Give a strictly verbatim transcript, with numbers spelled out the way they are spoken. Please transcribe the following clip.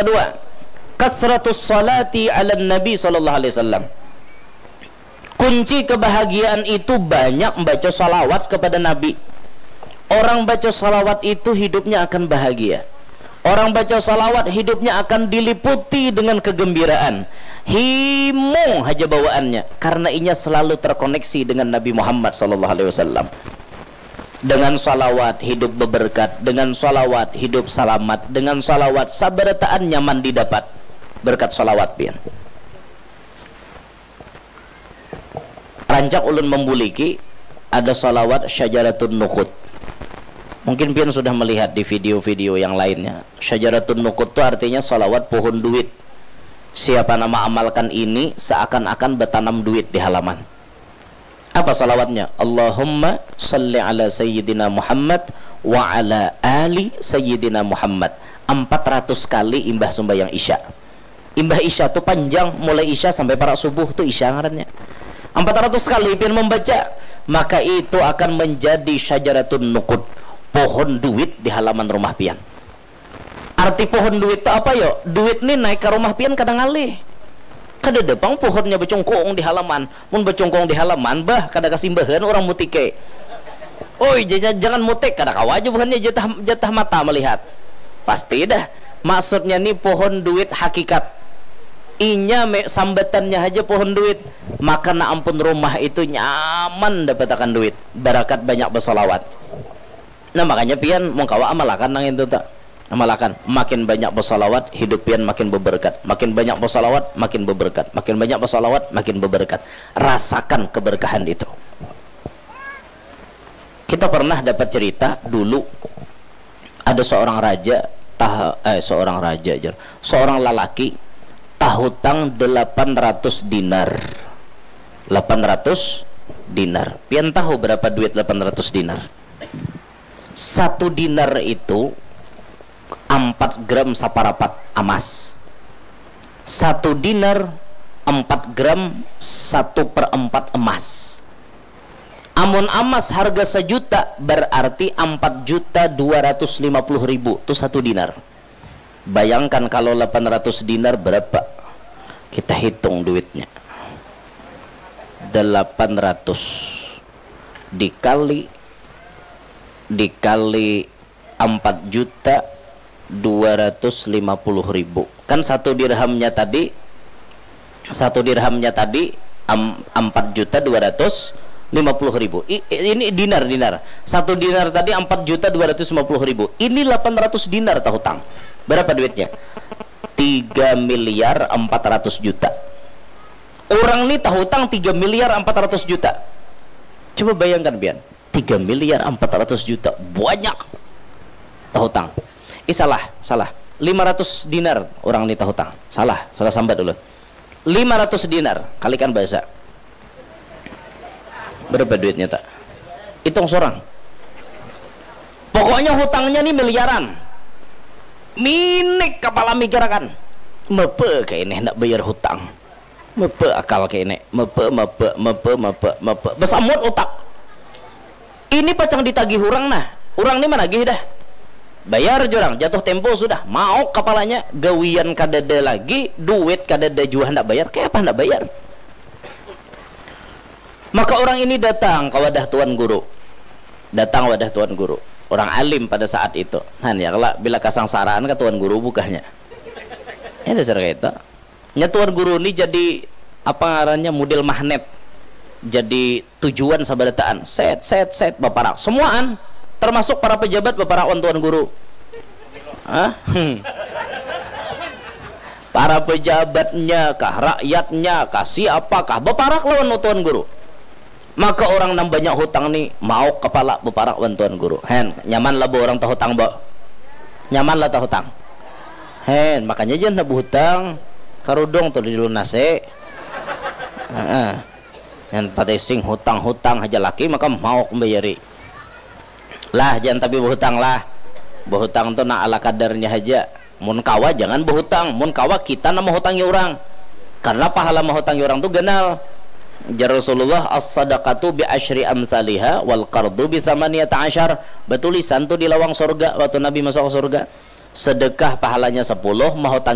Dua, kasratus salati ala nabi sallallahu alaihi wasallam. Kunci kebahagiaan itu banyak membaca salawat kepada Nabi. Orang baca salawat itu hidupnya akan bahagia. Orang baca salawat hidupnya akan diliputi dengan kegembiraan. Himung haja bawaannya karena inya selalu terkoneksi dengan Nabi Muhammad sallallahu alaihi wasallam. Dengan salawat hidup beberkat, dengan salawat hidup salamat, dengan salawat sabarataan nyaman didapat berkat salawat pian. Rancak ulun membuliki ada salawat syajaratun nukut. Mungkin pian sudah melihat di video-video yang lainnya. Syajaratun nukut tu artinya salawat pohon duit. Siapa nama amalkan ini seakan-akan bertanam duit di halaman. Apa salawatnya? Allahumma salli ala sayyidina Muhammad wa ala ali sayyidina Muhammad. Empat ratus kali imbah sumbayang isya. Imbah isya tu panjang, mulai isya sampai parak subuh tu isya ngarannya. Empat ratus kali pian membaca, maka itu akan menjadi syajaratun nukud, pohon duit di halaman rumah pian. Arti pohon duit tu apa yo? Duit ni naik ka rumah pian kada ngalih. Kadada pang pohonnya bacungkung di halaman. Mun bacungkung di halaman, bah, kada kasimbahan urang mutike. Oi, ja-, ja-, jangan mutik, kada kawa aja buhannya jatah, jatah mata melihat. Pasti dah. Maksudnya ni pohon duit hakikat. Inya me-, sambatannya haja pohon duit. Maka na ampun rumah itu nyaman dapatakan duit. Barakat banyak basalawat. Nah, makanya pian mun kawa amalakan nang itu ta. Amalakan, makin banyak basalawat, hidup pian makin beberkat. Makin banyak basalawat, makin beberkat. Makin banyak basalawat, makin beberkat. Rasakan keberkahan itu. Kita pernah dapat cerita dulu, ada seorang raja, tah, eh, seorang raja, jar. Seorang lalaki tahutang delapan ratus dinar. Delapan ratus dinar. Pian tahu berapa duit delapan ratus dinar? Satu dinar itu empat gram saparapat amas. Satu dinar empat gram satu per empat emas. Amun amas harga sajuta, berarti empat juta dua ratus lima puluh ribu tu satu dinar. Bayangkan kalau delapan ratus dinar berapa? Kita hitung duitnya. Delapan ratus dikali, dikali empat juta dua ratus lima puluh ribu. Kan satu dirhamnya tadi, satu dirhamnya tadi am-, empat juta dua ratus lima puluh ribu. I-, ini dinar, dinar. Satu dinar tadi empat juta dua ratus lima puluh ribu. Ini delapan ratus dinar tahutang. Berapa duitnya? Tiga miliar empat ratus juta. Orang ni tahutang tiga miliar empat ratus juta. Coba bayangkan pian, tiga miliar empat ratus juta, banyak tahutang. Ih, salah, salah. Lima ratus dinar orang ni tahutang. Salah, salah sambat ulun. Lima ratus dinar, kalikan bahasa. Berapa duitnya, ta? Hitung sorang. Pokoknya hutangnya ni miliaran. Minik kapala mikirakan. Mapa kah ini handak bayar hutang? Mapa akal kah ini? Mapa, mapa, mapa, mapa, mapa. Basamut utak. Ini pacang ditagih urang nah. Urang ni managih dah. Bayar jurang, jatuh tempo sudah. Mauk kapalanya, gawian kadada lagi, duit kadada jua handak bayar. Kayapa handak bayar? Maka orang ini datang ka wadah tuan guru. Datang wadah tuan guru. Orang alim pada saat itu. Han, ya kalo, bila kasangsaraan ka tuan guru bukahnya. Ya, dasar kaya itu. Nya tuan guru ni jadi, apa ngarannya, model magnet. Jadi tujuan sabarataan. Set, set, set, baparak. Semuaan, termasuk para pejabat baparak wan tuan guru. Hah? Para pejabatnya kah, rakyatnya kah, siapa kah, baparak lawan tuan guru. Maka orang nang banyak hutang ni, mauk kapala baparak wan tuan guru. Hen, nyaman lah bo orang tahutang, bo? Nyaman lah tahutang? Hen, makanya jangan handak bahutang. Karudung tu dilunasi. Heeh. Yang patising hutang-hutang haja laki, maka mauk membayari. Lah, jangan tapi bahutang lah. Bahutang tu nang ala kadarnya haja. Mun kawa, jangan bahutang. Mun kawa, kita nang mahutangi urang. Karena pahala mahutangi urang tu ganal. Jar Rasulullah, "As-sadaqatu bi asyri amsaliha wal qardu bi samaniyata asyar." Batulisan tu di lawang surga waktu Nabi masuk ke surga. Sedekah pahalanya sepuluh, mahutangi